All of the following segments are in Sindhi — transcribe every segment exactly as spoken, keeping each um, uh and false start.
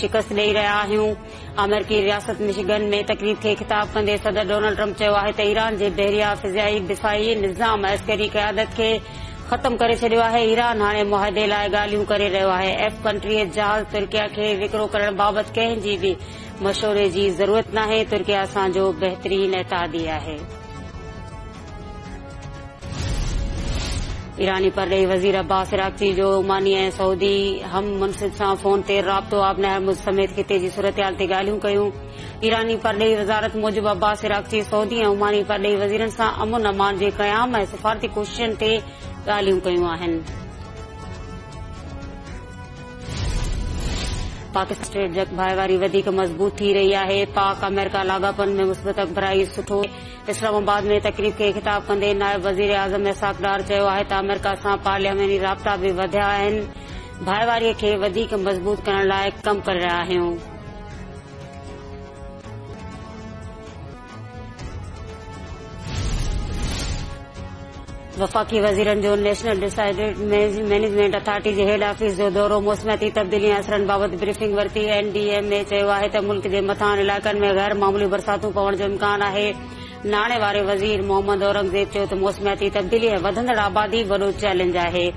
شڪست ڏئي رهيا آهيون. آمريڪي رياست مشيگن ۾ تقريب کي خطاب ڪندي صدر ڊونلڊ ٽرمپ چيو آهي ته ايران جي بحريه، فضائي دفاعي نظام ۽ عسڪري قيادت کي ختم ڪري ڇڏيو آهي. ايران هاڻي معاهدي لاءِ ڳالهيون ڪري رهيو آهي. ايف پنٽيهه جهاز ترڪيه کي وڪرو ڪرڻ بابت ڪنهن جي به مشوري جي ضرورت ناهي. ترڪيه اسان جو بهترين اتحادي آهي. ايراني پرڏيهي وزير عباس عراقچي جو عماني ۽ سعودي هم منصب سان فون تي رابطو، آبنائي هرمز سميت خطي جي صورتحال تي ڳالهيون ڪيون. ايراني پرڏيهي وزارت موجب عباس عراقچي سعودي ۽ عماني پرڏيهي وزيرن سان امن امان جي قيام ۽ سفارتي ڪوششن تي ڳالهيون ڪيون آهن. پاڪستان اسٽريٽجڪ ڀائيواري وڌيڪ مضبوط ٿي رهي آهي. پاڪ آمريڪا لاڳاپن ۾ مثبت اڳڀرائي سٺو. اسلام آباد ۾ تقريب کي خطاب ڪندي نائب وزير اعظم اسحاق ڊار چيو آهي ته آمريڪا سان پارلياماني رابطا به وڌيا آهن، ڀائيواري کي وڌيڪ مضبوط ڪرڻ لاءِ ڪم ڪري رهيا آهيون. وفاقي وزيرن جو نيشنل ڊزاسٽر مئنيجمينٽ اٿارٽي جي هيڊ آفيس جو دورو، موسمياتي تبديلي ۽ اثرن بابت بريفنگ ورتي. اين ڊي ايم اي چيو آهي ته ملڪ جي مٿانهن علائقن ۾ غير معمولي برساتون پوڻ جو امڪان آهي. ناڻي واري وزير محمد اورنگزيب چيو ته موسمياتي تبديلي ۽ وڌندڙ آبادي وڏو چئلينج آهي.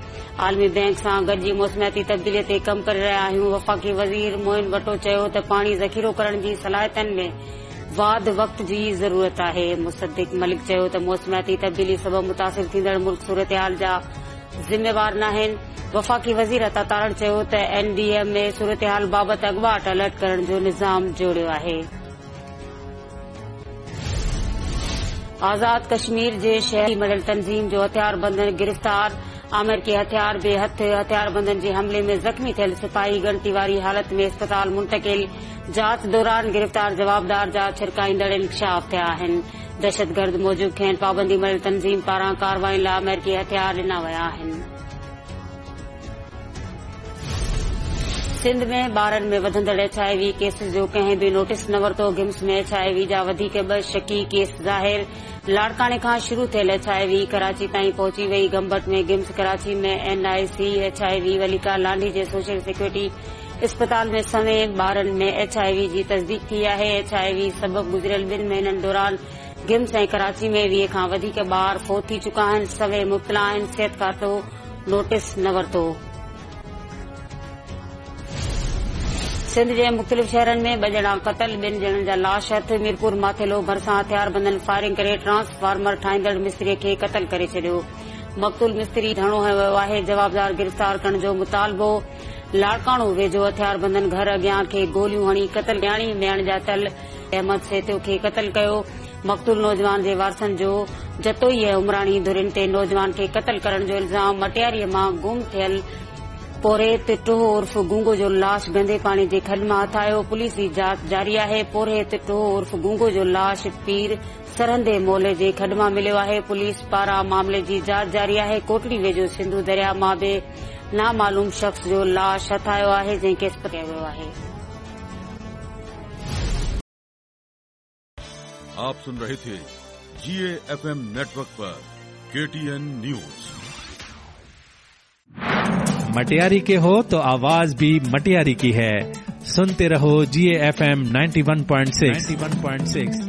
عالمي بئنڪ سان گڏجي موسمياتي تبديلي تي ڪم ڪري رهيا آهيون. وفاقي وزير معين وٽو چيو ته پاڻي ذخيرو ڪرڻ جي صلاحيتن ۾ واڌ وقت جي ضرورت آهي. مصدق ملڪ چيو ته موسمياتي تبديلي سبب متاثر ٿيندڙ ملڪ صورتحال جا ذميوار ناهن. وفاقي وزير عطا تارڙ چيو ته اين ڊي ايم اي صورتحال بابت اڳواٽ الرٽ ڪرڻ جو نظام جوڙيو آهي. آزاد ڪشمير جي شهري مڙهيل تنظيم جو هٿياربندن گرفتار، آمريڪي هٿيار به هٿ. هٿياربندن جي حملي ۾ زخمي ٿيل سپاهي ڳڻتي واري حالت ۾ اسپتال منتقل. جاچ دوران گرفتار جوابدار جا ڇرڪائيندڙ انڪشاف ٿيا آهن. دهشتگرد موجب کين پابندي مڙهيل تنظيم پاران ڪارروائين لاءِ آمريڪي هٿيار ڏنا ويا آهن. سنڌ ۾ ٻارن ۾ وڌندڙ ايڇ I V cases جو ڪنهن به نوٽيس نه ورتو. گمس ۾ ايڇ I V جا وڌيڪ ٻه شڪي ڪيس ظاهر. لاڙڪاڻي کان شروع ٿيل ايڇ I V Karachi تائين پهچي وئي. گمبٽ ۾ گمس، Karachi ۾ N I C H I V Valika Landhi جي سوشل سيڪيورٽي اسپتال ۾ سوين ٻارن ۾ ايڇ I V جي تصديق ٿي آهي. ايڇ I V سبب گذريل ٻن مهينن دوران گمس ۽ ڪراچي ۾ ويهه کان وڌيڪ ٻار فوت ٿي چڪا آهن، سوين مبتلا آهن. صحت کاتو نوٽيس نه ورتو. سنڌ جي مختلف شهرن ۾ ٻه ڄڻا قتل، ٻن ڄڻن جا لاش هٿ. ميرپور ماٿيلو ڀرسان هٿياربندن فائرنگ ڪري ٽرانسفارمر ٺاهيندڙ مستري کي قتل ڪري ڇڏيو. مقتول مستري ڌرڻو هنيو ويو آهي، جوابدار گرفتار ڪرڻ جو مطالبو. لاڙڪاڻو ويجهو هٿياربندن گهر اڳيان کي گوليون هڻي قتل. نياڻي ۾ اڻڄاتل احمد سيتيو کي قتل ڪيو. مقتول نوجوان جي وارثن جو جتوئي ۽ عمراڻي ڌرين تي نوجوان کي قتل ڪرڻ جو الزام. مٽياري مان گم ٿيل پورهيت ٽوهه عرف گونگو جو لاش گندي پاڻي جي کڏ مان هٿ آيو. پوليس جي جاچ جاري آهي. پورهيت ٽوهه عرف گونگو جو لاش پير سرهندي مولي جي کڏ مان مليو آهي. پوليس پاران معاملي جي جاچ جاري آهي. ڪوٽڙي ويجهو سنڌو درياء مان به نامعلوم شخص جو لاش هٿ آيو آهي، جنهن کي اسپتال ڪيو ويو آهي. आप सुन रहे थे जी एफ एम नेटवर्क पर के टी एन न्यूज। मटियारी के हो तो आवाज भी मटियारी की है। सुनते रहो G F M ninety one point six.